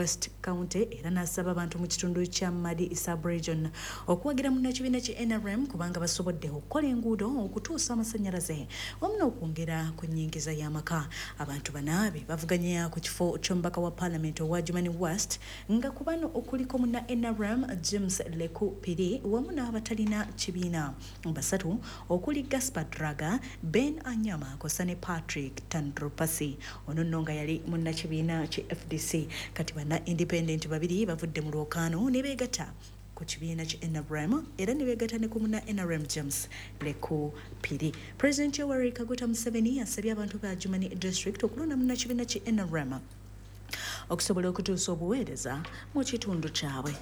West County era n'asaba abantu mu kitundu kya Madi sub-region okuwagira munnakibiina ki NRM kubanga basobodde okukola enguudo, okutuusa amasannyalaze wamu n'okwongera ku nnyingiza y'amaka. Abantu bana be bavuganya ku kifo ky'omubaka wa Paalamenti owa Adjumani West nga ku bano okuliko munna NRM James Leku Piri wamu n'abatalina kibiina basatu okuli Gaspar Draga, Ben Anyama kw'ossa ne Patrick Tandropasi. Ono nno nga yali munnakibiina ki FDC. Kati banna independent babiri bavudde mu lwokaano ne beegatta ku kibiina ki NRM era ne beegatta ne ku munna NRM James Leku Piri. Pulezidenti Yoweri Kaguta Museveni asabye abantu ba Adjumani District okulonda munnakibiina ki NRM okusobola okutuusa obuweereza mu kitundu kyabwe.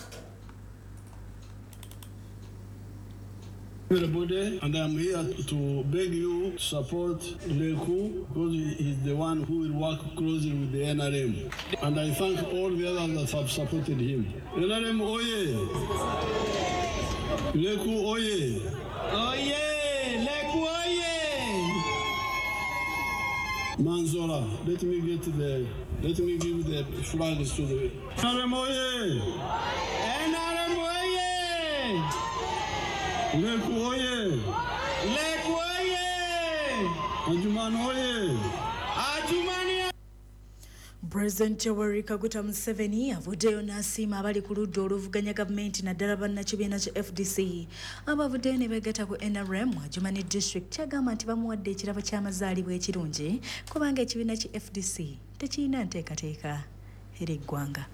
Everybody, and I'm here to beg you to support Leku because he is the one who will work closely with the NRM. And I thank all the others that have supported him. NRM oye! Leku oye! Oye! Leku oye! Manzora, let me give the flags to the NRM oye! NRM oye! Leku oye! Leku oye! Adjumani oye! Adjumani. President Yoweri Kaguta Museveni avuddeyo n'asiima abali ku ludda oluvuganya gavumenti naddala bannakibiina kya FDC abavuddeyo ne beegatta ku NRM mu Adjumani District, kyagamba nti bamuwadde ekirabo ky'amazaalibwa ekirungi kubanga ekibiina kya FDC tekirina nteekateeka eri eggwanga.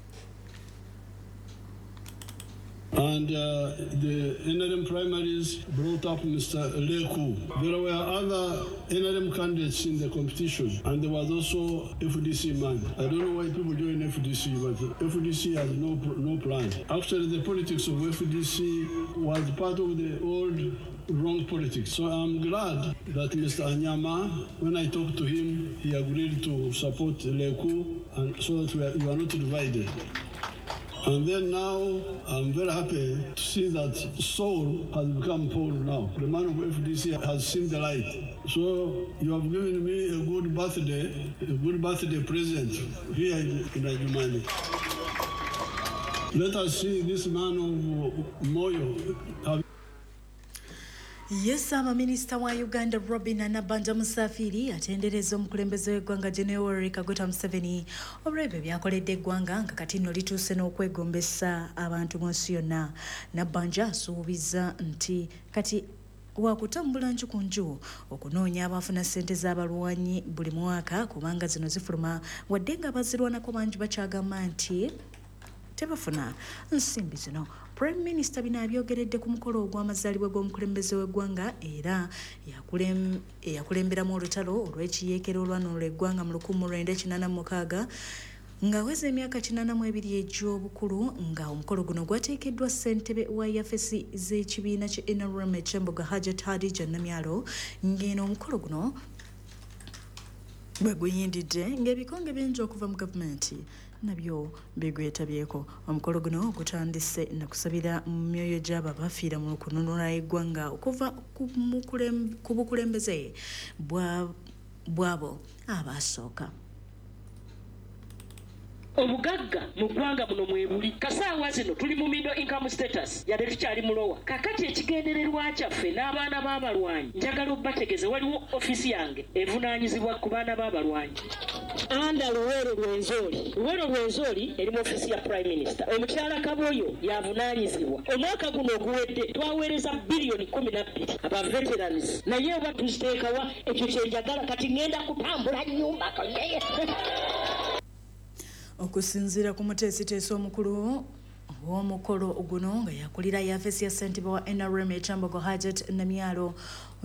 And the NRM primaries brought up Mr. Leku. There were other NRM candidates in the competition, and there was also FDC man. I don't know why people join FDC, but FDC has no plan. Actually, the politics of FDC was part of the old wrong politics. So I'm glad that Mr. Anyama, when I talked to him, he agreed to support Leku, and so that we are not divided. And then now, I'm very happy to see that Saul has become Paul now. The man of FDC has seen the light. So you have given me a good birthday present here in Adjumani. Let us see this man of Moyo. Ye Ssaabaminisita wa Uganda Robinah Nabbanja Musafiri atendereza omukulembeze w'eggwanga General Yoweri Kaguta Museveni olw'ebyo by'akoledde eggwanga nga kati nno lituuse n'okwegombesa abantu mu nsi yonna. Nabbanja asuubiza nti kati wakutambula nju ku nju okunoonya abafuna ssente z'abalwanyi buli mwaka kubanga zino zifuluma wadde nga abazirwanako bangi bakyagamba nti tebafuna nsimbi zino. Prime Minister bino abyogeredde ku mukolo ogw'amazaalibwa g'omukulembeze w'eggwanga era eyakulemberamu olutalo olw'ekiyeekera olwanunula eggwanga mu 1986 ng'aweza emyaka 82 egy'obukulu, nga omukolo guno gwateekeddwa ssentebe wa yafesi z'ekibiina kya NRM eky'embuga Hajat Hadija Namyalo, ng'eno omukolo guno bwe guyindidde ng'ebikonge bingi okuva mu gavumenti nabyo bigwetabyeko. Omukolo guno gutandise na kusabira mu myoyo gy'abo abafiira mu kununula eggwanga okuva ku bukulembeze bw'abo abasooka. Obugagga mu ggwanga muno mwebuli. Kasaawa zino tuli mu middle income status, yadde tukyali mu lower. Kakati ekigendererwa kyaffe n'abaana b'abalwanyi, njagala obbategeeze waliwo ofiisi yange evunaanyizibwa ku baana b'abalwanyi. Anda Luweero Rwenzori. Luweero Rwenzori eri mu ofiisi ya Prime Minister. Omukyala Kaboyo yavunaanyizibwa. Omwaka guno oguwedde twaweereza biliyoni 12 aba veterans, naye oba tuziteekawa ekyo kye njagala. Kati ŋŋenda kutambula nnyumba konyeye. Okusinziira ku muteesiteesi omukulu w'omukolo guno nga yakulira yafesi ya ssentebe wa NRM ekyambogo Hajat Namyalo,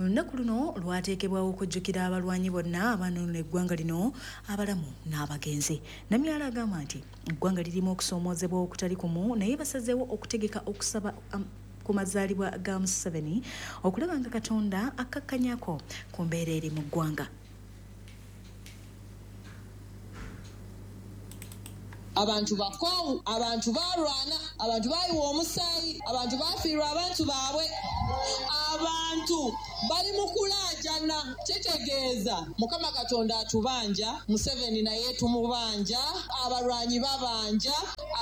olunaku luno lwateekebwawo okujjukira abalwanyi bonna abanunula eggwanga lino abalamu n'abagenzi. Namyalo agamba nti eggwanga lirimu okusoomoozebwa okutali kumu, naye basazeewo okutegeka okusaba ku mazaalibwa ga Museveni okulaba nga Katonda akkakkanyako ku mbeera eri mu ggwanga. Abantu bakoowu, abantu balwana, abantu bayiwa omusaayi, abantu bafiirwa abantu baabwe, abantu bali mu kulaajana. Kitegeeza Mukama Katonda atubanja, Museveni naye tumubanja, abalwanyi babanja,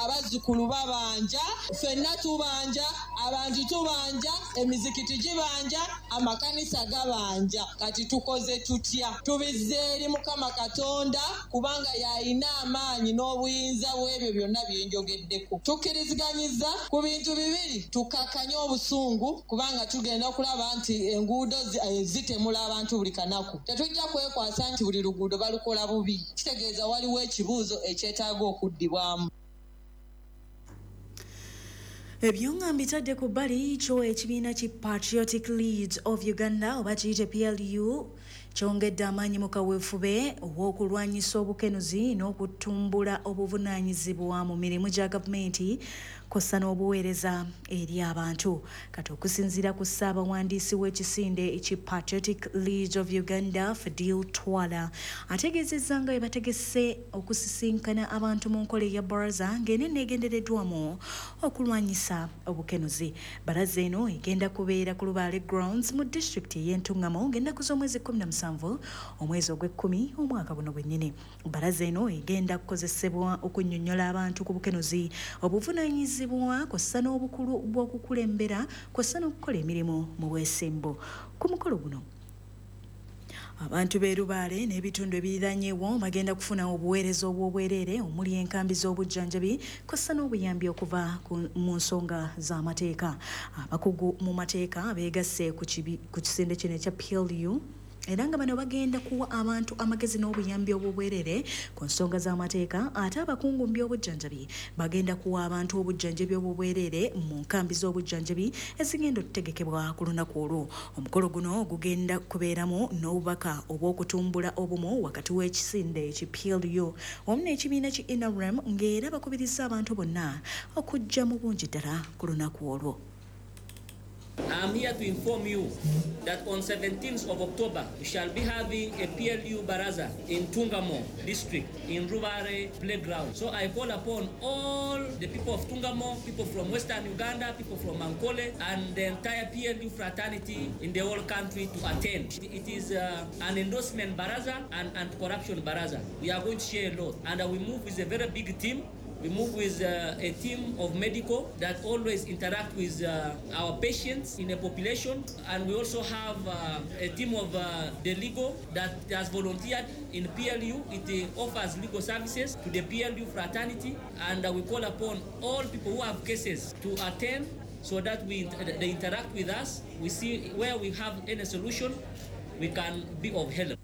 abazzukulu babanja, ffenna tubanja, abantu tubanja, emizikiti gibanja, amakanisa gabanja. Kati tukoze tutya? Tubizze eri Mukama Katonda kubanga y'alina amaanyi n'obuyinza bw'ebyo byonna bye njogeddeko. Tukkiriziganyiza ku bintu bibiri, tukakkanye obusungu kubanga tugenda okulaba nti enguudo zitemula abantu buli kanaku. Tetujja kwekwasa nti buli luguudo balukola bubi. Kitegeeza waliwo ekibuuzo ekyetaaga okuddibwamu. Ebyonga mbitadde ku bbali kyo ekibiina ki Patriotic League of Uganda oba kiyite PLU kyongedde amaanyi mu kaweefube ow'okulwanyisa obukenuzi n'okutumbula obuvunaanyizibwa mu mirimu gya gavumenti kw'ossa n'obuweereza eri abantu. Kati okusinziira ku ssaabawandiisi w'ekisinde ki Patriotic League of Uganda, Fadil Twala, ategeezezza nga bwe bategese okusisinkana abantu mu nkola eya baraza ng'eno eneegendereddwamu okulwanyisa obukenuzi. Baraza eno egenda kubeera ku Lubaale Grounds mu disitulikiti ey'Entungamo ng'ennaku z'omwezi 17 omwezi ogw'ekkumi omwaka guno gwennyini. Baraza eno egenda kukozesebwa okunnyonnyola abantu ku bukenuzi, obuvunaanyizibwa kw'ossa n'obukulu bw'okukulembera kw'ossa n'okukola emirimu mu bwesimbu. Ku mukolo guno abantu b'e Lubaale n'ebitundu ebiriraanyeewo bagenda kufuna obuweereza obw'obwereere omuli enkambi z'obujjanjabi kw'ossa n'obuyambi okuva mu nsonga z'amateeka. Abakugu mu mateeka beegasse ku kisinde kino ekya PLU era nga bano bagenda kuwa abantu amagezi n'obuyambi obw'obwereere ku nsonga z'amateeka, ate abakungu mu by'obujjanjabi bagenda kuwa abantu obujjanjabi obw'obwereere mu nkambi z'obujjanjabi ezigenda okutegekebwa ku lunaku olwo. Omukolo guno gugenda kubeeramu n'obubaka obw'okutumbula obumu wakati w'ekisinde ki PLU wamu n'ekibiina ki NRM, ng'era bakubiriza abantu bonna okujja mu bungi ddala ku lunaku olwo. I'm here to inform you that on 17th of October, we shall be having a PLU Baraza in Tungamo district, in Rubare playground. So I call upon all the people of Tungamo, people from Western Uganda, people from Ankole, and the entire PLU fraternity in the whole country to attend. It is an endorsement Baraza and anti-corruption Baraza. We are going to share a lot, and we move with a very big team. We move with a team of medical that always interact with our patients in the population. And we also have a team of the legal that has volunteered in PLU. It offers legal services to the PLU fraternity. And we call upon all people who have cases to attend so that they interact with us. We see where we have any solution, we can be of help.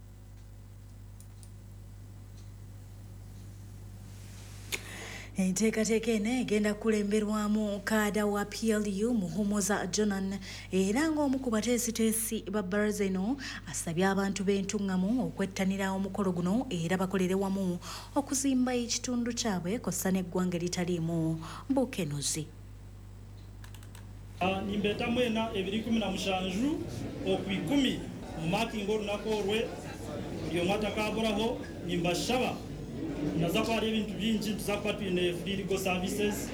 Enteekateeka eno egenda kukulemberwamu kaada wa PLU Muhumuza Jonan, era ng'omu ku bateesiteesi ba baraza eno asabye abantu b'Entungamo okwettanira omukolo guno era bakolere wamu okuzimba ekitundu kyabwe kw'ossa n'eggwanga eritaliimu bukenuzi. Nimbeeta mwena 2017 oku10 mu makinga olunaku olwe buli omu atakaburaho nimbashaba naza kuba hariho ebintu bingi. Tuza kuba twine free legal services,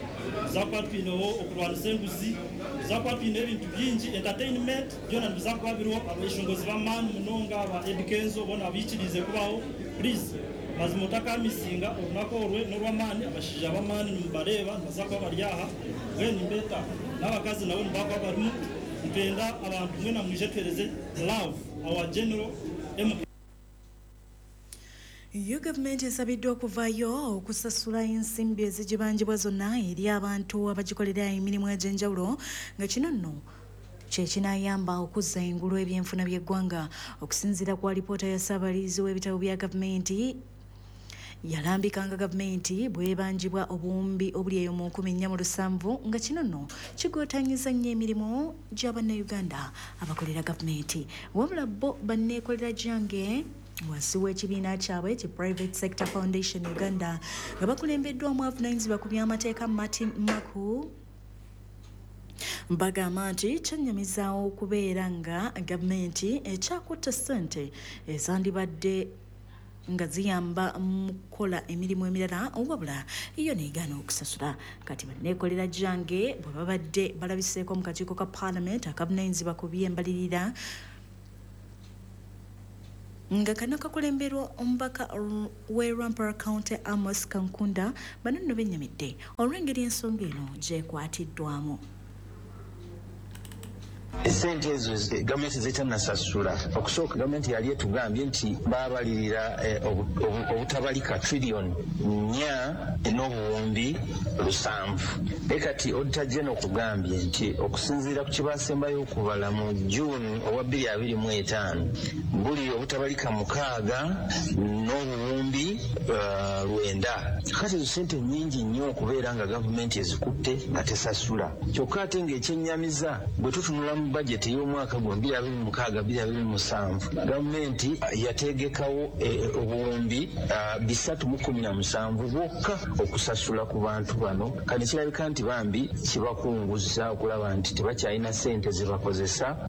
tuza kuba twineho okurwanisa enguzi, tuza kuba twine ebintu bingi, entertainment byona nibiza kuba biriho. Abeshongozi b'amaani munonga ba Eddy Kenzo bona biikirize kubaho. Please mazima otakamisinga olunaku orwe n'orw'amaani. Abashaija b'amaani nimubareeba nibaza kuba bari aha. Mbwenu nimbeeta n'abakazi nabo nibakuba barimu. Nitwenda abantu mwena mwije tuhereze love our general M. Yo gavumenti esabiddwa okuvaayo okusasula ensimbi ezigibanjibwa zonna eri abantu abagikolera emirimu egy'enjawulo, nga kino nno kye kinaayamba okuzza engulu ebyenfuna by'eggwanga. Okusinziira ku alipoota ya ssaabalizi w'ebitabo bya gavumenti, yalambikanga gavumenti bw'ebanjibwa obuwumbi obuli eyo mu 1470, nga kino nno kigootanyiza nnyo emirimu gy'abannayuganda abakolera gavumenti. Wabula bo banneekolera gyange wansi w'ekibiina kyabwe ki Private Sector Foundation Uganda, nga bakulembeddwamu avunaanyizibwa ku by'amateeka Martin Maku, bagamba nti kyennyamizaawo okubeera nga gavumenti ekyakutta ssente ezandibadde nga ziyamba mu kukola emirimu emirala, wabula yo negaana okusasula. Kati banneekolera gyange bwe babadde balabiseeko mu kakiiko ka Parliament akavunaanyizibwa ku by'embalirira nga kano kakulemberwa omubaka w'e Rwampara County Amos Kankunda, bano nno bennyamidde olw'engeri ensonga eno gyekwatiddwamu. Esente ezo gavumenti zetanasasula. Okusooka gavumenti yali etugambye nti babalirira obutabalika triliyoni 4.7. Naye kati Auditor General okugambye nti okusinziira ku kyebasembayo okubala mu June owa 2025, buli obutabalika 6.9. Kati ezo sente nnyingi nnyo okubeera nga gavumenti ezikutte nga tesasula. Kyokka ate ng'ekyennyamiza, bwe tutunula mu bajeti y'omwaka guno 2026 2027, gavumenti yategekawo obuwumbi 317 bwokka okusasula ku bantu bano. Kati kirabika nti bambi kibakunguza okulaba nti tebakyalina ssente zebakozesa.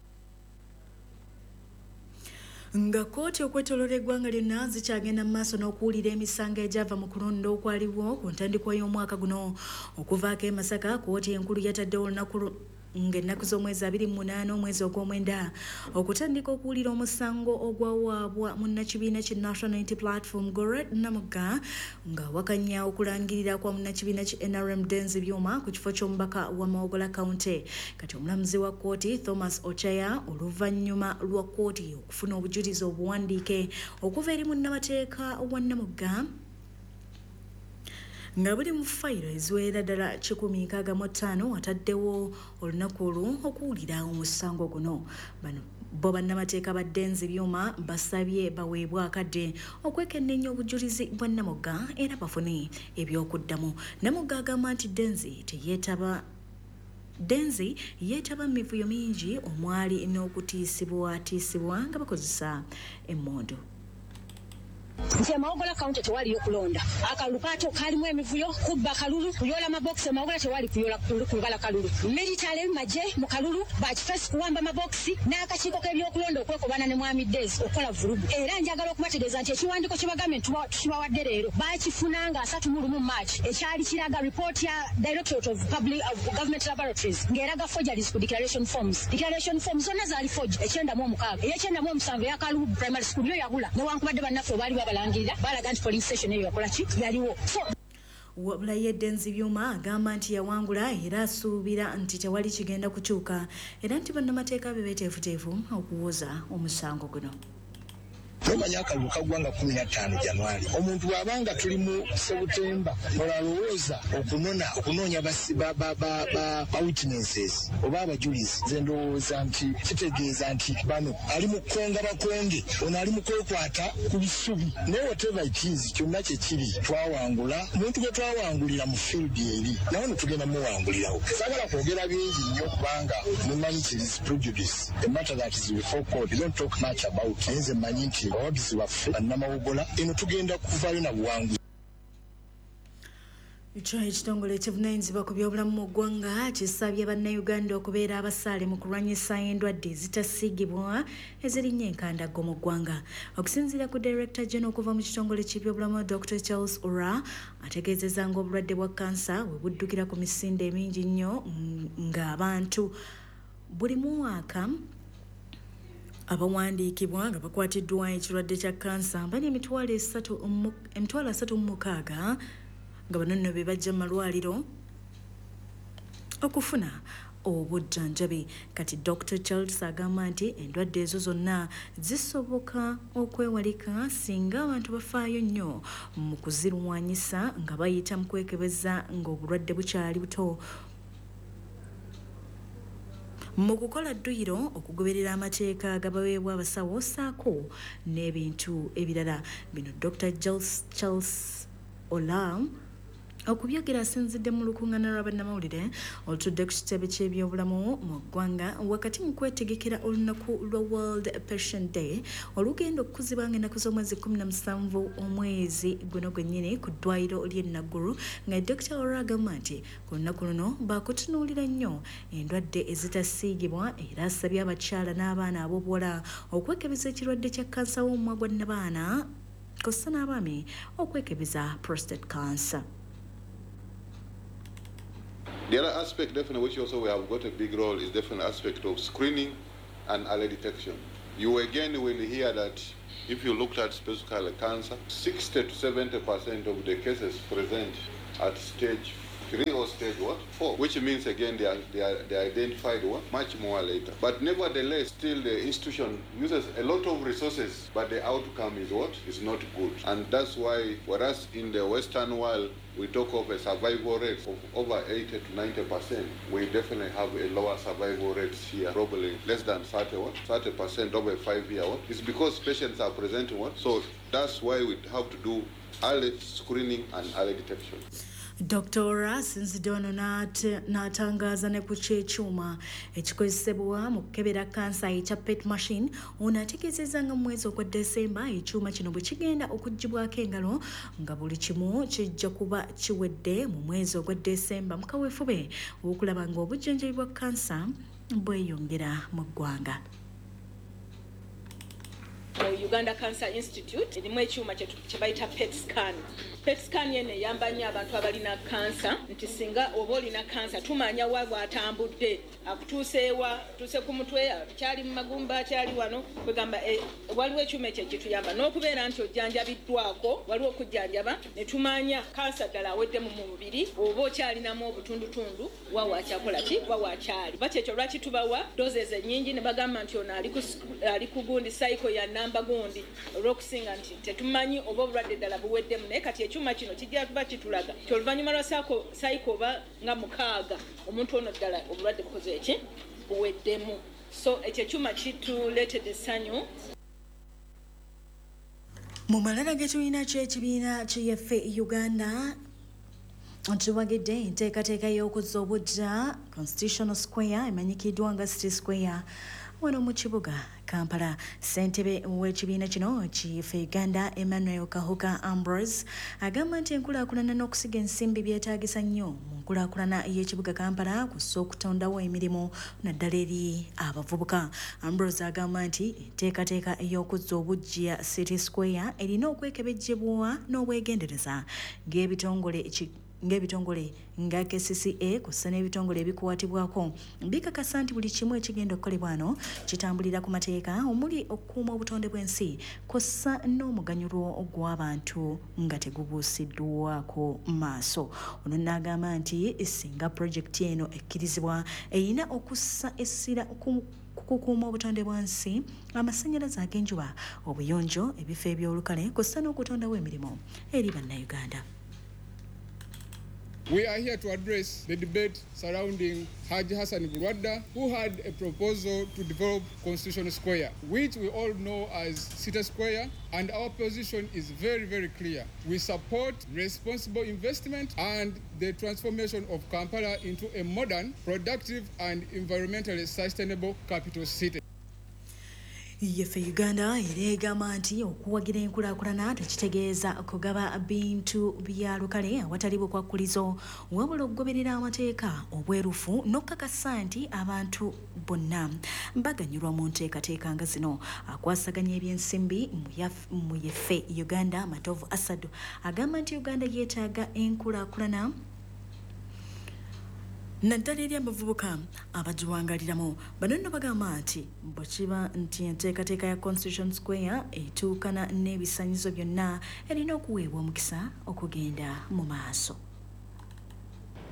Nga kkooti okwetooloola eggwanga lyonna zikyagenda mu maaso n'okuwulira emisango egyava mu kulonda okwaliwo ku ntandikwa y'omwaka guno, okuvaako e Masaka, kkooti enkulu yataddewo olunaku ng'ennaku z'omwezi 28 omwezi ogw'omwenda okutandika okuwulira omusango ogwawaabwa munnakibiina ki National Unity Platform Gorret Namugga, ng'awakanya okulangirira kwa munnakibiina ki NRM Denzi Byuma ku kifo ky'omubaka wa Mawogola County. Kati omulamuzi wa kkooti Thomas Ochaya, oluvannyuma lwa kkooti okufuna obujulizi obuwandiike okuva eri munnamateeka wa Namugga nga buli mu fayiro eziwerera ddala 165, ataddewo olunaku olwo okuwulira omusango guno. Bano bo bannamateeka ba Denzi Byuma basabye baweebwe akadde okwekenneenya obujulizi bwa Namugga era bafune ebyokuddamu. Namugga agamba nti Denzi teyeetaba, Denzi yeetaba mu mivuyo mingi omwali n'okutiisibwatiisibwa nga bakozesa emmundu. Nti Mawogola County tewaliyo kulonda. Akalulu kato kalimu emivuyo, kubba kalulu, kuyola mabokisi. Mawogola tewali kuyola kubala kalulu, military maje mu kalulu, bakifesi kuwamba mabokisi n'akakiiko k'ebyokulonda okwekobana ne Mwami Days okukola vulugu. Era njagala okubategeeza nti ekiwandiiko kye bagambye nti tukibawadde leero bakifuna nga 31 March, ekyali kiraga report ya Directorate of Public of Government Laboratories ng'eraga forgeries ku declaration forms. Declaration forms zonna zaali forged. 96, ey'97 eya Kalubu Primary School yo yabula, newankubadde bannaffe baali babalangirira, balaga nti polling station eyo yakola ki, yaliwo. So Wabula ye Denzi Byuma agamba nti yawangula era asuubira nti tewali kigenda kukyuka, era nti bannamateeka be beeteefuteefu okuwoza omusango guno. Nomanya akalulu kaggwa nga 15 January. Omuntu bw'abanga tuli mu Sebutemba, olalowooza okunona okunoonya ba witnesses oba abajulizi. Nze ndowooza nti kitegeeza nti bano ali mu kukonga bakonge, ono ali mu kwekwata ku bisubi. Naye whatever it is, kyonna kyekiri, twawangula. Omuntu gwe twawangulira mu field eri nawe no tugenda muwangulirawo. Saagala kwogera bingi nnyo kubanga mumanyi kiri prejudice. A matter that is before court, you don't talk much about. Naye nze mmanyi nti abawagizi baffe bannamawogola eno tugenda kuvaayo na buwanguzi. Kyo ekitongole ekivunaanyizibwa ku byobulamu mu ggwanga kisabye bannayuganda okubeera abasaale mu kulwanyisa endwadde ezitasiigibwa ezirinnya enkandaggo mu ggwanga. Okusinziira ku Director General okuva mu kitongole ky'ebyobulamu Dr Charles Ora, ategeezezza ng'obulwadde bwa kansa bwe buddukira ku misinde emingi nnyo, ng'abantu buli mwaka abawandiikibwa nga bakwatiddwa ekirwadde kya kansa bali 336,000, nga bano nno be bajja mu malwaliro okufuna obujjanjabi. Kati Dr Charles agamba nti endwadde ezo zonna zisoboka okwewalika singa abantu bafaayo nnyo mu kuzirwanyisa nga bayita mu kwekebeza ng'obulwadde bukyali buto, mu kukola dduyiro, okugoberera amateeka agabaweebwa abasawo ssaako n'ebintu ebirala. Bino Dr Charles Olam okubyogera asinzidde mu lukuŋŋaana lwa bannamawulire olutudde ku kitebe ky'ebyobulamu mu ggwanga wakati mu kwetegekera olunaku lwa World Patient Day olugenda okukuzibwa nga ennaku z'omwezi 17 omwezi guno gwennyini ku ddwaliro ly'e Naggulu, nga Dr Ora agamba nti ku lunaku luno baakutunuulira nnyo endwadde ezitasiigibwa, era asabye abakyala n'abaana ab'obuwala okwekebeza ekirwadde kya kansa w'omumwa gwa nnabaana. kw'ossa n'abaami okwekebeza prostate cancer. The other aspect definitely which also we have got a big role is definitely aspect of screening and early detection. You again will hear that if you looked at specifically cancer, 60 to 70% of the cases present at stage 3 or stage 4, which means again they are identified much more later. But nevertheless, still the institution uses a lot of resources, but the outcome is is not good. And that's why, whereas in the Western world we talk of a survival rate of over 80 to 90%, we definitely have a lower survival rates here, probably less than 30% over 5 years. It's because patients are presenting So that's why we have to do early screening and early detection. Dr. asinzidde wano n'atangaaza ne ku ky'ekyuma ekikozesebwa mu kukebera kansa ekya PET machine. Ono ategeezezza nga mu mwezi ogwa Desemba ekyuma kino bwe kigenda okuggyibwako engalo nga buli kimu kijja kuba kiwedde mu mwezi ogwa Desemba mu kaweefube okulaba ng'obujjanjabi bwa kansa bweyongera mu ggwanga. Mu Uganda Cancer Institute erimu ekyuma kye bayita PET scan. PET scan yene eyamba nnyo abantu abalina kansa, nti singa oba olina kansa tumanya wa bw'atambudde, akutuuseewa, tuuse ku mutwe, kyali mu magumba, kyali wano, kwegamba waliwo ekyuma ekyo ekituyamba n'okubeera nti ojjanjabiddwako, waliwo okujjanjaba ne tumanya kansa ddala aweddemu mu mubiri oba okyalinamu obutundutundu, wa wakyakola ki, wa wakyali. Ba kyekyo lwaki tubawa doses ennyingi ne bagamba nti ono ali ku gundi cycle ya namba gundi, olw'okusinga nti tetumanyi oba obulwadde ddala buweddemu, naye kati ekyuma kino kijja kuba kitulaga nti oluvannyuma lwa cycle oba nga 6 omuntu ono ddala obulwadde bukoze eki buweddemu. So ekyo ekyuma kituleetedde essanyu. Mu malala g'ekibiina ky'ekibiina ky'Yeffe Uganda nkiwagidde enteekateeka y'okuzza obuggya Constitutional Square emanyikiddwa nga City Square wano mu kibuga Kampala. Ssentebe w'ekibiina kino Kiyeffe Uganda Emmanuel Kahuka Ambrose agamba nti enkulaakulana n'okusiga ensimbi byetaagisa nnyo mu nkulaakulana y'ekibuga Kampala kussa okutondawo emirimu naddala eri abavubuka. Ambrose agamba nti enteekateeka ey'okuzza obuggya City Square erina okwekebejjebwa n'obwegendereza ng'ebitongole nga KCCA kussa n'ebitongole ebikwatibwako bikakasa nti buli kimu ekigenda okukolebwa wano kitambulira ku mateeka omuli okukuuma obutonde bw'ensi kussa n'omuganyulo gw'abantu nga tegubuusiddwako maaso. Ono n'agamba nti singa pulojekiti eno ekkirizibwa erina okussa essira ku kukuuma obutonde bw'ensi, amasannyalaze ag'enjuba, obuyonjo, ebifo eby'olukale kussa n'okutondawo emirimu eri Bannayuganda. We are here to address the debate surrounding Haji Hassan Bulwadda, who had a proposal to develop Constitution Square, which we all know as City Square, and our position is very, very clear. We support responsible investment and the transformation of Kampala into a modern, productive, and environmentally sustainable capital city. Yeffe Uganda era egamba nti okuwagira enkulaakulana tekitegeeza kugaba bintu bya lukale awatali bukwakkulizo, wabula okugoberera amateeka, obwerufu n'okukakasa nti abantu bonna baganyulwa mu nteekateeka nga zino. Akwasaganya ebyensimbi mu Yeffe Uganda Matovu Asadu agamba nti Uganda yeetaaga enkulaakulana naddala eri abavubuka abagiwangaliramu. Bano nno bagamba nti bwe kiba nti enteekateeka ya Constitution Square etuukana n'ebisaanyizo byonna erina okuweebwa omukisa okugenda mu maaso.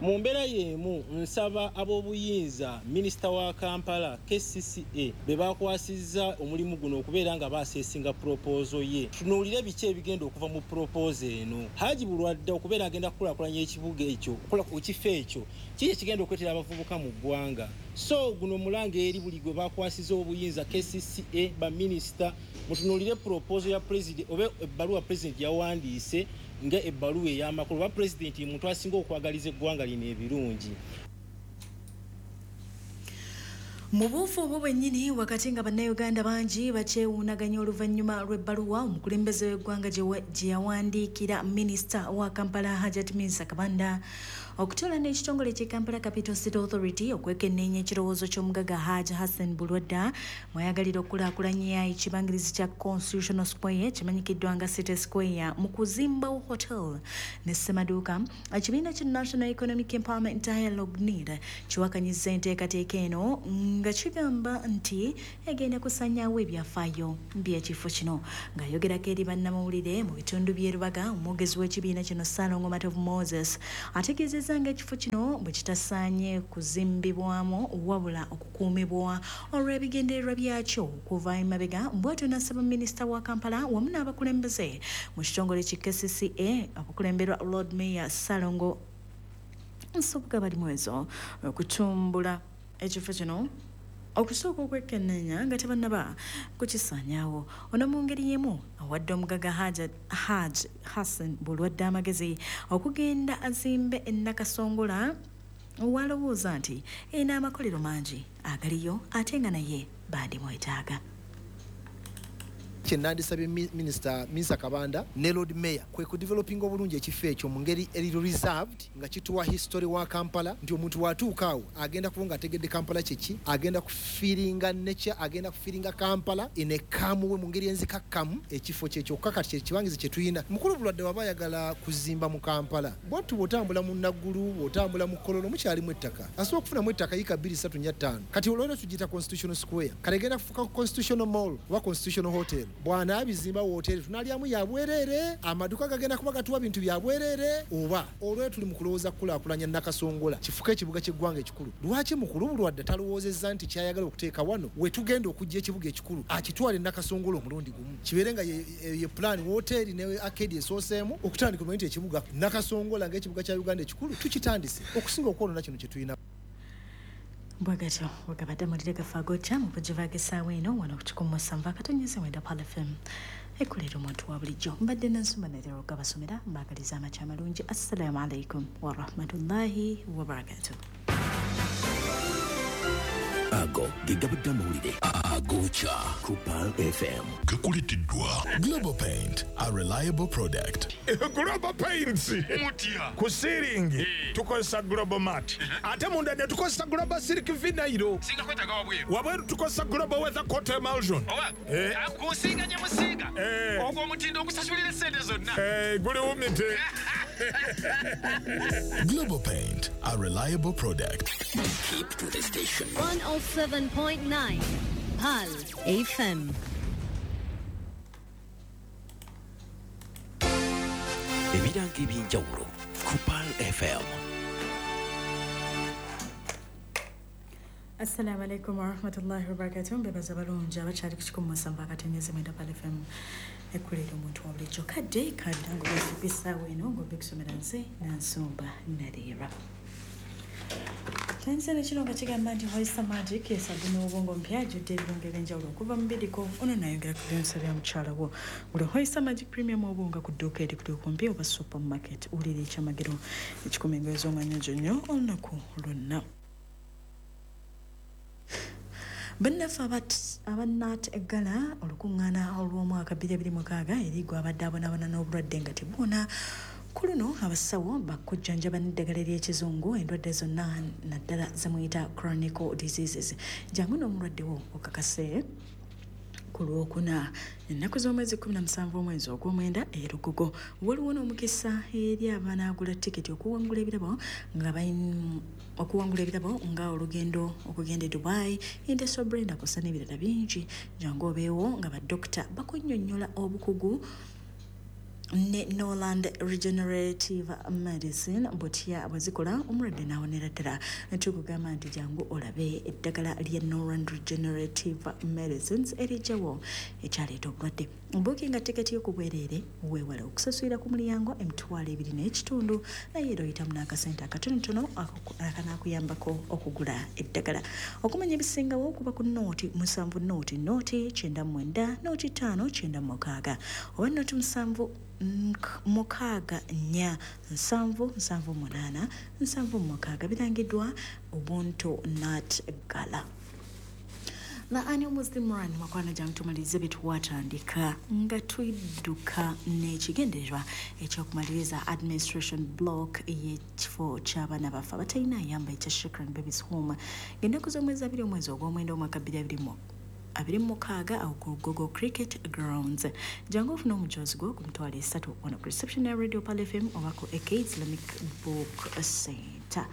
Mu mbeera y'emu nsaba ab'obuyinza minisita wa Kampala KCCA be bakwasizza omulimu guno okubeera nga baaseesinga proposal ye, tunuulire biki ebigenda okuva mu proposal eno. Haji Bulwadda okubeera agenda kukulaakulanya ekibuga ekyo, ekifo ekyo kiki ekigenda okuleetera abavubuka mu ggwanga. So guno mulanga eri buli gwe bakwasizza obuyinza KCCA baminisita, mutunuulire proposal ya president oba ebbaluwa president yawandiise nga ebbaluwa ey'amakulu. Oba pulezidenti muntu asinga okwagaliza eggwanga lino ebirungi. Mu buufu obwo bwennyini wakati nga Bannayuganda bangi bakyewuunaganya oluvannyuma lw'ebbaluwa omukulembeze w'eggwanga gye yawandiikira minisita wa Kampala Hajat Minsa Kabanda Okutuula n'ekitongole ky'e Kampala Capital City Authority okwekenneenya ekirowoozo ky'omugagga Hajj Hassan Bulwadda mwayagalira okukulaakulanya ekibangirizi kya Constitutional Square kimanyikiddwa nga City Square mu kuzimbawo hotel ne ssemaduuka. Ekibiina kya National Economic Empowerment Dialogue NEED kiwakanyizza enteekateeka eno nga kigamba nti egenda kusanyaawo ebyafaayo by'ekifo kino. Ng'ayogerako eri bannamawulire mu bitundu by'e Rubaga, omwogezi w'ekibiina kino Ssalongo Matovu Moses ategeezezza ng'ekifo kino bwe kitasaanye kuzimbibwamu wabula okukuumibwa olw'ebigendererwa byakyo okuva emabega. Bw'atyo n'asaba minisita wa Kampala wamu n'abakulembeze mu kitongole ki KCCA abakulemberwa Lord Mayor Ssalongo Nsubuga Balimwezo okutumbula ekifo kino okusooka okwekenneenya nga tebannaba kukisaanyaawo. Ono mu ngeri y'emu awadde omugagga Hajj Hassan Bulwadde amagezi okugenda azimbe e Nakasongola walowooza nti erina amakolero mangi agaliyo ate nga naye bandimwetaaga. Kye nandisabye Minisita Kabanda ne Lord Mayor kwe kudevelopinga obulungi ekifo ekyo mu ngeri eri reserved nga kituwa history wa Kampala, nti omuntu watuuka awo agenda kuba nga ategedde Kampala kyeki, agenda kufiiringa nature, agenda kufiiringa Kampala in a calm way, mu ngeri enzikakkamu. Ekifo kye kyokka kati kye kibangizi kye tulina. Mukulu Bulwadde waba ayagala kuzimba mu Kampala, bwatu bw'otambula mu Naggulu, bw'otambula mu Kololo, mukyalimu ettaka, asobola okufunamu ettaka yiika 2 3 4 5. Kati olwaliro tugiyita Constitutional Square, kale egenda kufuuka Constitutional Mall oba Constitutional Hotel. Bw'anaabizimba wooteri tunalyamu ya bwereere, amaduka gagenda kuba gatuwa bintu bya bwereere. Oba olwero tuli mu kulowooza kukulaakulanya Nakasongola kifuke ekibuga ky'eggwanga ekikulu, lwaki mukulu Bulwadde talowoozezza nti kyayagala okuteeka wano we tugenda okujja ekibuga ekikulu akitwale Nakasongola omulundi gumu, kibeere nga ye plan woteeri ne arcade esooseemu okutandika omanye nti ekibuga Nakasongola ng'ekibuga kya Uganda ekikulu tukitandise okusinga okwonoona kino kye tulina. Bwegatyo wegabadde amawulire gaffe agokya mu bujjuvu ag'essaawa eno wano ku 107.9 Pearl FM ekulera omuntu wa bulijjo. Mbadde Nansumba Natera okugabasomera, mbaagaliza amakya amalungi. Assalaamu alaikum warahmatullahi wabarakatuh. Ago ge gabadde amawulire agokya ku Pearl FM. Gakuleteddwa Global Paint, a reliable product. Global Paints Mutya. Ku ceiling tukozesa Global Mat, ate munda ne tukozesa Global Silk Vinyl. Singa kwetaaga wabweru. Wabweru tukozesa Global Weather Coat Emulsion. Owa kusinga gye musiiga ogwo omutindo ogusasulira essente zonna. Guli wumite. Global Paint, a reliable product. Keep to the station. 107.9 Pearl FM. Ebirango ebyenjawulo ku Pearl FM. Assalamu alaikum warahmatullahi wabarakatuh. Mbebaza balungi abakyali ku 107.9 Pearl FM ekulera omuntu wa bulijjo. Kadde kabirango byaffe essaawa eno ng'obikusomera nze Nansumba Nadira. Tanzania kino nga kigamba nti Hoista Magic esabuni w'obwongo mpya ajjudde ebirungo ebyenjawulo okuva mu bidiko. Ono nayongera ku byonsa bya mukyala wo. Gula Hoista Magic Premium obwonga ku dduuka erikuli okumpi oba supermarket. Wulira ekyamagero ekikuma engoye z'omwanya nnyo olunaku lwonna. Bannaffe abannat eggala olukuŋŋaana olw'omwaka 2026 eri gwe abadde abonaabona n'obulwadde nga tebuwona. Ku luno abasawo bakujjanjaba n'eddagala ery'ekizungu endwadde zonna naddala zemuyita chronic diseases. Jangu n'omulwadde wo okakase ku Lwokuna ennaku z'omwezi 17 omwezi ogw'omwenda e Lugogo. Waliwo n'omukisa eri abanaagula tiketi okuwangula ebirabo nga okuwangula ebirabo nga olugendo okugenda e Dubai, Indeso Brenda kw'ossa n'ebirala bingi. Jangu obeewo nga badokita bakunnyonnyola obukugu ne Norland Regenerative Medicine butya bwe zikola omulwadde n'awonera ddala. Tukugamba nti jangu olabe eddagala lya Norland Regenerative Medicines erijjawo ekyaleeta obulwadde. Buukinga tiketi yo ku bwereere, weewale okusasulira ku mulyango 25,000, naye era oyitamu n'akasente akatonotono akanaakuyambako okugula eddagala. Okumanya ebisingawo okuba ku 07 0 0 99 05 96 oba 07 6 4 7 7 8 7 6. Birangiddwa Ubuntu Nat Gala. The annual Muslim Run mukwano jangu tumalirize bye twatandika nga tudduka n'ekigendererwa ekyokumaliriza administration block y'ekifo ky'abaana baffe abatalina ayamba ekya Shukran Babies Home ng'ennaku z'omwezi 2 omwezi ogw'omwenda omwaka 2026 awo ku Lugogo Cricket Grounds. Jangu ofune omujoozi gwo ku 30,000 wano ku reception ya Radio Pearl FM oba ku AK Islamic Book Center.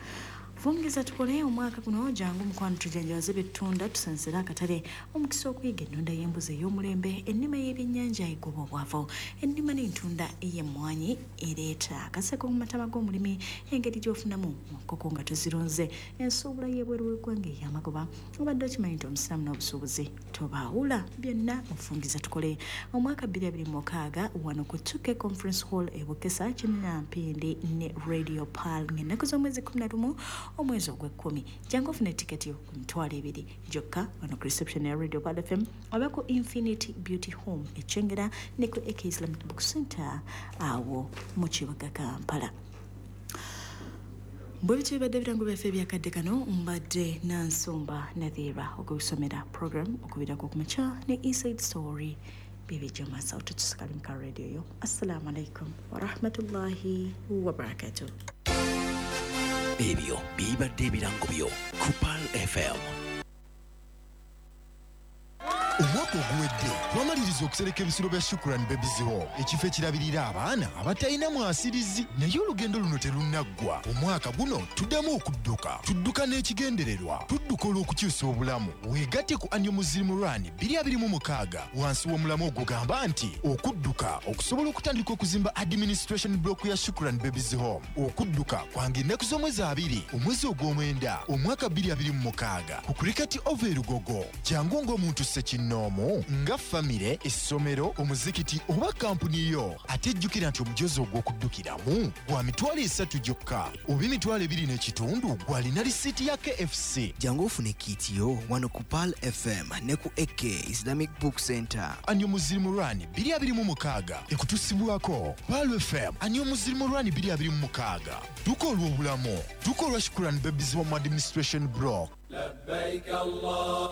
Fungeza tukole omwaka guno jangu mukwano tujanjawaze byetutunda tusansire akatale omukisa okuyiga ennunda y'embuzi ey'omulembe, ennima y'ebyennyanja egoba obwavu, ennima n'entunda ey'emmwanyi ereeta akaseko mu mataba g'omulimi, engeri gy'ofunamu mu nkoko nga tozirunze, ensuubula y'ebweru w'eggwanga ey'amagoba. Obadde okimanyi nti omusiraamu n'obusuubuzi tobaawula, byonna mufungiza tukole omwaka 2026 wano ku 2K Conference Hall e Bukesa, Kinnampindi ne Radio Pearl ng'ennaku z'omwezi 11 omwezi ogw'ekkumi. Jangu ofune tiketi yo ku 20,000 gyokka wano ku reception ya Radio Pearl FM oba ku Infinity Beauty Home e Kyengera ne ku AK Islamic Book Center awo mu kibuga Kampala. Bwe bityo bibadde ebirango byaffe ebyakadde kano. Mbadde Nansumba Nathira okusomera program okubirako ku makya ne Inside Story bibijja maaso tutusikale mu ka radio yo. Assalamu alaikum warahmatullahi wabarakatuh. Ebyo bibadde ebirango byo ku Pearl FM. Omwaka oguwedde twamaliriza okusereka ebisulo bya Shukran Babies Home, ekifo ekirabirira abaana abatalina mwasirizi. Naye olugendo luno terunnaggwa. Omwaka guno tuddamu okudduka, tudduka n'ekigendererwa, tudduka olw'okukyusa obulamu. Weegatte ku Annual Muslim Run 2026 wansi w'omulamu ogugamba nti okudduka okusobola okutandika okuzimba administration block ya Shukran Babies Home. Okudduka kwange ennaku z'omwezi 2 omwezi ogw'omwenda omwaka 2026 ku Cricket Oval e Lugogo. Jangu ng'omuntu ssekinnoomu, nga famire, essomero, omuzikiti oba kampuni yo. Ate jjukira nti omujoozi ogw'okuddukiramu gwa 30,000 gyokka oba 25,000 gw'alina risiiti ya KFC. Jangu ofune kiiti yo wano ku Pearl FM ne ku AK Islamic Book Center. Annual Muslim Run 2026 ekutusibwako Pearl FM. Annual Muslim Run 2026 dduka olw'obulamu, dduka olwa Shukran Babies Home Administration Block.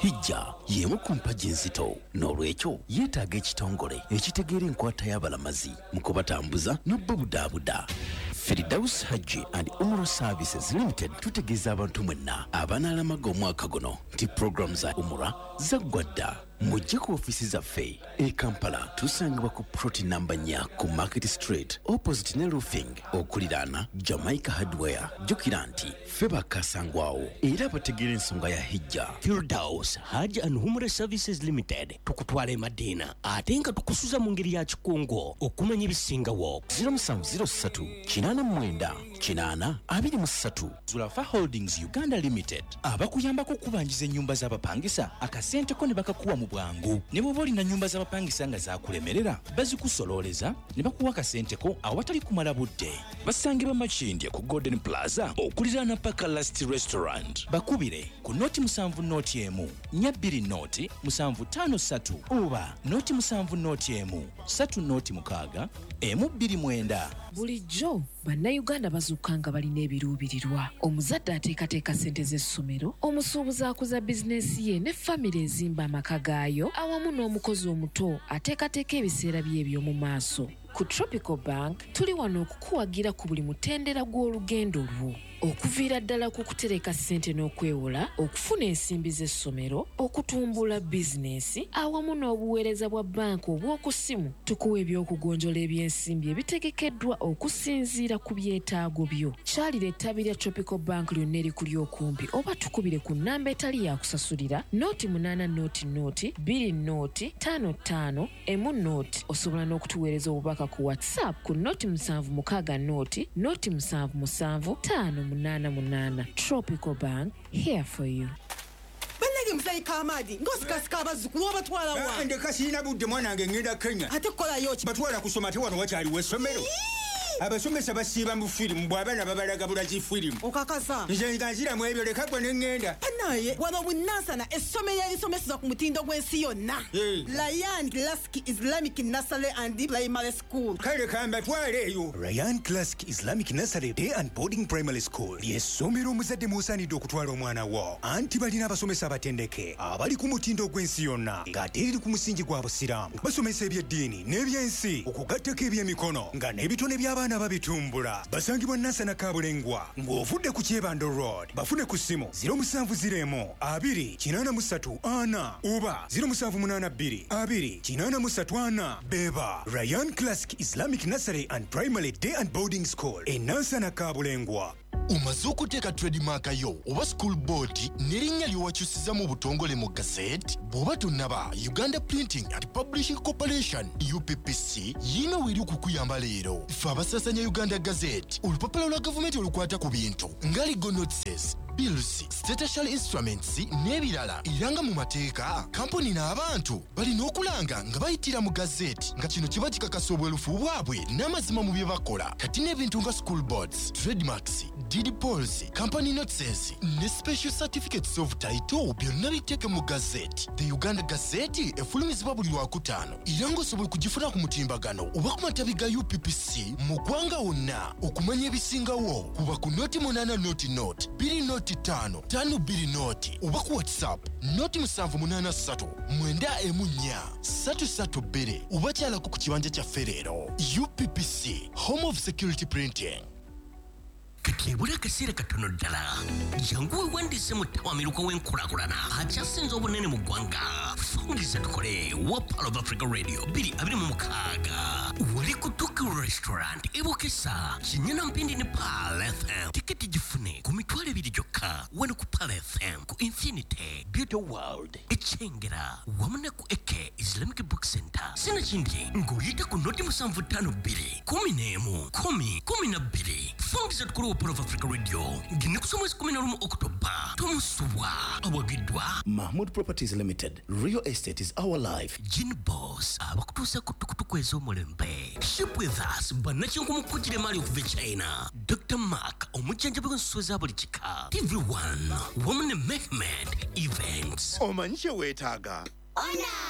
Hijja y'emu ku mpagi enzito, n'olwekyo yeetaaga ekitongole ekitegeera enkwata y'abalamazi mu kubatambuza n'obbabudaabuda. Firdaus Hajji and Umrah Services Limited tutegeeza abantu mwenna abanaalamaga omwaka guno nti pulogulaamu za Umrah zaggwa dda. Mujje ku ofiisi zaffe e Kampala, tusangibwa ku plot namba 4 ku Market Street opposite ne Roofing okuliraana Jamaica Hardware. Jjukira nti ffe bakasangwawo era bategeera ensonga ya hijja. Firdaus Hajj and Umrah Services Limited tukutwala e Madina ate nga tukusuza mu ngeri ya kikungo. Okumanya ebisingawo 0703 89 8 23. Zulafa Holdings Uganda Limited abakuyambako okubanjiza ennyumba z'abapangisa akasente ko ne bakakuwa mu bwangu. Ne bw'oba olina nnyumba z'abapangisa nga zaakulemerera, bazikusololeza ne bakuwa akasente ko awatali kumala budde. Basangibwa Makindye ku Golden Plaza okuliraana Paka Last Restaurant. Bakubire ku 070 1 20 753 oba 071 306 129. Bulijjo bannayuganda bazuuka nga balina ebiruubirirwa. Omuzadde ateekateeka ssente z'essomero, omusuubuzi akuza bizinensi ye ne famire ezimba amaka gaayo, awamu n'omukozi omuto ateekateeka ebiseera bye eby'omu maaso. Ku Tropical Bank tuli wano okukuwagira ku buli mutendera gw'olugendo lwo, okuviira ddala ku kutereka ssente n'okwewola, okufuna ensimbi z'essomero, okutumbula bizinensi awamu n'obuweereza bwa banka obw'oku ssimu. Tukuwa ebyokugonjola ebyensimbi ebitegekeddwa okusinziira ku byetaago byo. Kyalira ettabi lya Tropical Bank lyonna erikuli okumpi oba tukubire ku nnamba etali yakusasulira 080 0 20 55 10. Osobola n'okutuweereza obubaka ku WhatsApp ku 076 0 077 588. Tropical Bank, here for you. Bannange muzeeyi Kamadi ng'osikasika abazzukulu obatwala wa? Ndeka sirina budde, mwana wange, ngenda Kenya. Ate kukolayo ki? Batwala kusoma, ate wano wakyaliwo essomero. Abasomesa basiiba mu firimu, bw'abaana babalaga bulazi firimu. Okakasa? Nze nga nziramu ebyo, leka gwe ne ŋŋenda. Banaye wano bunansana, essomero erisomeseza ku mutindo gw'ensi yonna, Ryan Classic Islamic Nursery and Primary School. Kale kambatwale eyo. Ryan Classic Islamic Nursery Day and Boarding Primary School lyessomero omuzadde mw'osaanidde okutwala omwana wo, anti balina abasomesa abatendeke abali ku mutindo gw'ensi yonna, ng'ate eriri ku musingi gwa Busiraamu. Basomesa ebyeddiini n'ebyensi, okugattako ebyemikono, nga n'ebitone by'abaana babitumbula. Basangibwa Nansana Kabulengwa ng'ovudde ku Kyebando Road. Bafune ku ssimu 0701 2 83 4 oba 0782 2 83 4. Beba Ryan Classic Islamic Nursery and Primary Day and Boarding School e Nansana Kabulengwa. Omaze okuteeka trademark yo oba school board n'erinnya ly'owakyusiza mu butongole mu gazette? Bw'oba tonnaba, Uganda Printing and Publishing Corporation, UPPC, yiino weeri okukuyamba leero. Ffe abasaasanya Uganda Gazette, olupapula lwa gavumenti olukwata ku bintu nga legal notices, bills, statutory instruments n'ebirala, era nga mu mateeka kampuni n'abantu balina okulanga nga bayitira mu gazeti, nga kino kiba kikakasa obwerufu bwabwe n'amazima mu bye bakola. Kati n'ebintu nga school boards, trademarks, deed polls, company notices ne special certificates of title byonna biteeke mu gazeti. The Uganda Gazette efulumizibwa buli Lwakutaano, era ng'osobola okugifuna ku mutimbagano oba ku matabi ga UPPC mu ggwanga wonna. Okumanya ebisingawo, kuba ku 080 00 2 05 52 0 oba ku WhatsApp 078 394 332, oba kyalako ku kibanja kyaffe leero. UPPC, home of security printing. Kati ebula akaseera katono ddala, jangu weewandiise mu ttawamiruka w'enkulaakulana akyasinze obunene mu ggwanga, Fungiza Tukole wa Pearl of Africa Radio 2026, wali ku Tuki Restaurant ebukesa Kinyana Mpindi ne Pearl FM. Tiketi gifune ku 20,000 gyokka wano ku Pearl FM, ku Infinity Beauty World Ekyengera, wamu ne ku Eke Islamic Book Center. Sinakindi ng'oyita ku 0752 11 10 12. Fungiza Tukole wa Pearl of Africa Radio ng'ennaku z'omwezi 11 Okutoba. Tomusubwa. Awagiddwa Mahmood Properties Limited. Real estate is our life. Gin Boss abakutuusa ku tukutuku ez'omulembe. Ship with us, bannakinku mu kugira emaali okuva e China. Dr Mark, omujjanjabi w'ensuwa eza buli kika. TV1 wamu ne Mehmed Events. Omanyi kye weetaaga? Ona.